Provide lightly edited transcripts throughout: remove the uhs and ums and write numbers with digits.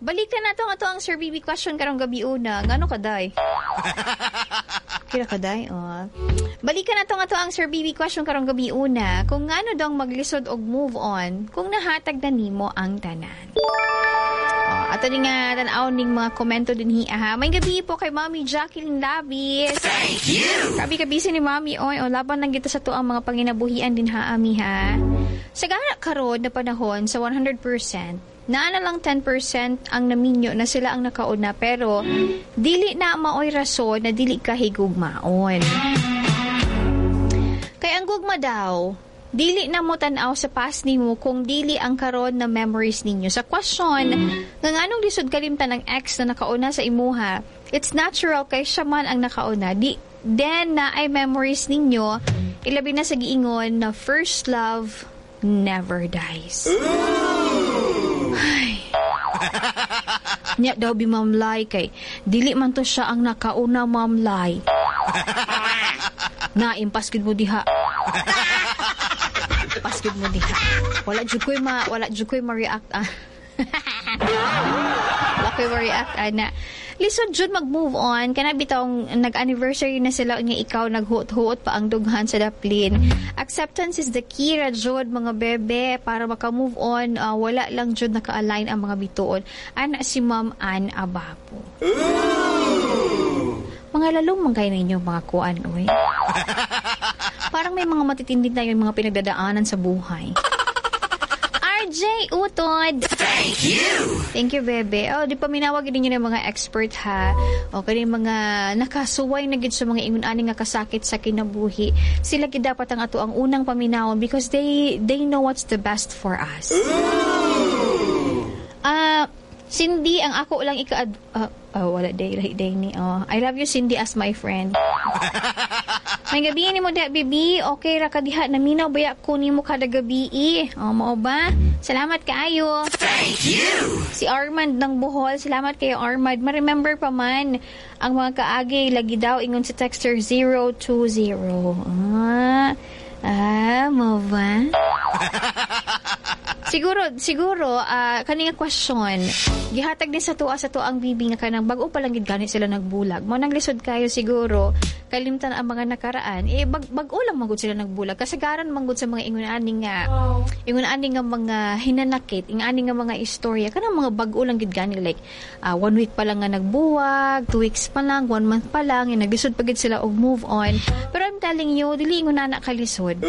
Balikan nato nga to ang Sir BB question karong gabi una. Ngano ka day? Kira ka day? Oh. Balikan nato nga to ang Sir BB question karong gabi una. Kung ngano daw maglisod og move on kung nahatag na nimo ang tanan. Oh, ato ni nga tan-aw ning mga komento din hi ha. May gabi po kay Mami Jacqueline Labis. Thank you. Kabi kabisi ni Mami oy, o laban lang kita sa to ang mga panginabuhian din ha ami ha. Sa gana karon na panahon sa 100%, naa na lang 10% ang naminyo na sila ang nakauna pero dili na maoy rason na dili ka higugmaon. Kay ang gugma daw, dili na mo tan-aw sa past nimo kung dili ang karon na memories ninyo. Sa question, nga nganong lisod kalimtan ang ex na nakauna sa imuha, it's natural kay siya man ang nakauna. Di, then na ay memories ninyo, ilabi na sa giingon na first love never dies. Ay. Nya daw bi Ma'am Lai kay dili man to siya ang nakauna, Ma'am Lai. Na impas gid mo diha. Paskid mo diha. Wala jud ko'y ma-react ah. Wala ko'y ma-react ana. Lisod jud mag-move on kana bitawng nag-anniversary na sila nga ikaw naghuot-huot pa ang dughan sa daplin. Acceptance is the key ra jud, mga bebe, para maka-move on. Wala lang jud naka-align ang mga bituon. Ana si Ma'am Ann Abapo. Mga lalong man kayo ninyo mga kuan oy. Parang may mga matitindi na yung mga pinagdadaanan sa buhay. RJ Utod. Thank you. Thank you, bebe. Oh, di pa minawag ninyo ng mga expert ha. O kani mga nakasuway na gid sa mga ingon ani nga kasakit sa kinabuhi. Sila gid dapat ang ato ang unang paminawon because they know what's the best for us. Ah, Cindy, ang ako lang ika oh, wala day lahi day ni. Oh, I love you, Cindy, as my friend. May gabi ni mo da, bibi. Okay ra ka diha. Naminaw baya ko nimo kada gabi. Oh, mao ba? Salamat kaayo. Thank you. Si Armand ng Bohol. Salamat kayo, Armand. Ma-remember pa man ang mga kaagi lagi daw ingon si texter 020. Ah, ah, mo ba? Siguro, kani nga question, gihatag din sa tuang bibi nga kanang bag-o pa lang gid gani sila nagbulag. Mo nang lisod kayo siguro, kalimtan ang mga nakaraan, eh, bag-o lang magud sila nagbulag. Kasagaran manggod sa mga ingon ani nga mga hinanakit, ingon ani nga mga istorya, kanang mga bag-o lang gid gani, like, 1 week pa lang nga nagbuwag, 2 weeks pa lang, 1 month pa lang, eh, naglisod pa gid sila og move on. Pero I'm telling you, dili ingon na kalisod.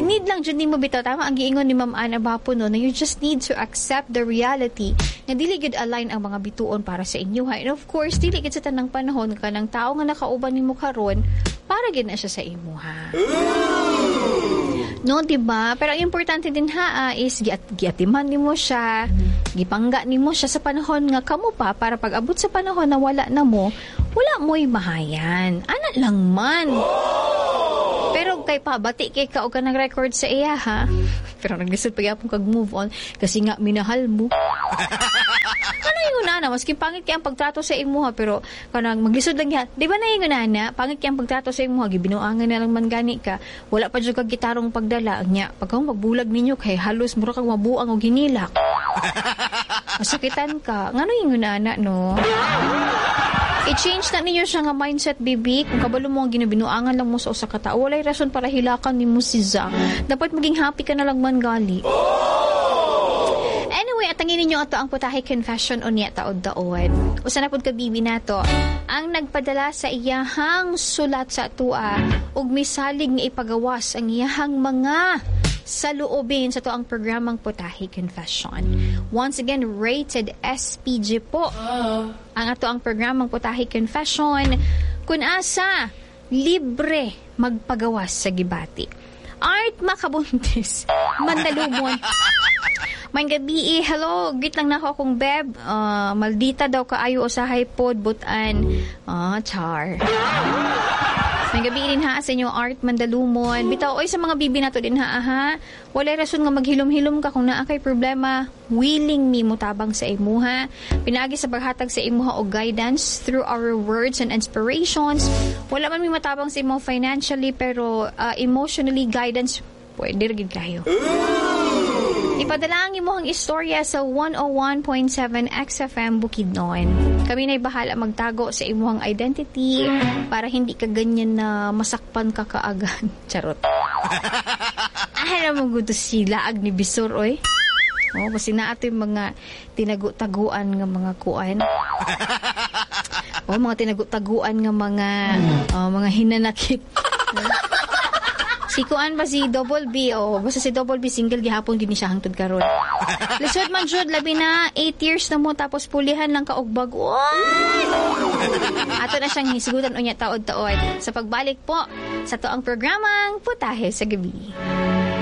Need lang jud nimo bitaw, tama ang giingon ni Ma'am Ana Bapo, no, na you just need to accept the reality nga dili gid align ang mga bituon para sa inyo ha. And of course, dili gid sa tanang panahon kanang tao nga nakauban nimo karon para gid na siya sa imo ha. No, di ba? Pero ang importante din ha is giatiman nimo siya, gipangga nimo siya sa panahon nga kamo pa para pag abot sa panahon na wala na mo, wala mo'y mahayan. Ana lang man. Pero kay pa, bati kay ka og ka nag-record sa iya ha. Pero naglisod pa gyapon kag move on kasi nga minahal mo. Ano yung nana? Maski pangit kay ang pagtrato sa imuha pero kanang maglisod lang yan. Di ba na yung nana? Pangit kay ang pagtrato sa imuha, gibinuangan na lang man gani ka. Wala pa jud kag gitarong pagdala. Nya, pag magbulag ninyo kay halos mura kag mabuang og hinilak. Masakitan ka. Ngano yung nana, no? I-change na ninyo siya nga mindset, baby. Kung kabalo mo ang ginabinuangan lang mo sa usa ka tao, walay rason para hilakan nimo si Za. Dapat maging happy ka na lang man gali. Anyway, atangin ninyo ato ang putahe confession unya taod-taod. Usa na pud ka bibi nato ang nagpadala sa iyahang sulat sa atua ug misalig nga ipagawas ang iyahang mga saluobin sa to ang programang Putahe Confession. Once again, rated SPG po ang ato ang programang Putahe Confession kung asa libre magpagawas sa gibati. Art Makabuntis, Mandalumon. May gabi eh, hello, git lang nako akong beb. Maldita daw kaayo usahay pod butan. Ah, char. May gabi din ha sa inyo, Art Mandalumon. Bitaw oy sa mga bibi nato din ha ha. Walay rason nga maghilom-hilom ka kung naa kay problema. Willing mi mutabang sa imuha. Pinaagi sa paghatag sa imuha og guidance through our words and inspirations. Wala man mi matabang sa imo financially pero emotionally guidance pwede ra gid kayo. Ipadala ang imong istorya sa 101.7 XFM Bukidnon. Kami na'y bahala magtago sa imong identity para hindi ka ganyan na masakpan ka kaagad. Charot. Ah, mo gusto sila ag ni Bisor, oy. Oh, basta na ato yung mga tinagu-taguan nga mga kuan. Oh, mga tinagu-taguan nga mga, oh, mga hinanakit. Si kuan ba si Double B, oh, basta si Double B single gihapon gini siya hangtod karon. Lisod man jud, labi na 8 years na mo tapos pulihan lang ka og bag-on. Ato na siyang hisgutan unya taod-taod sa pagbalik po sa tuang programang Putahe sa Gabi.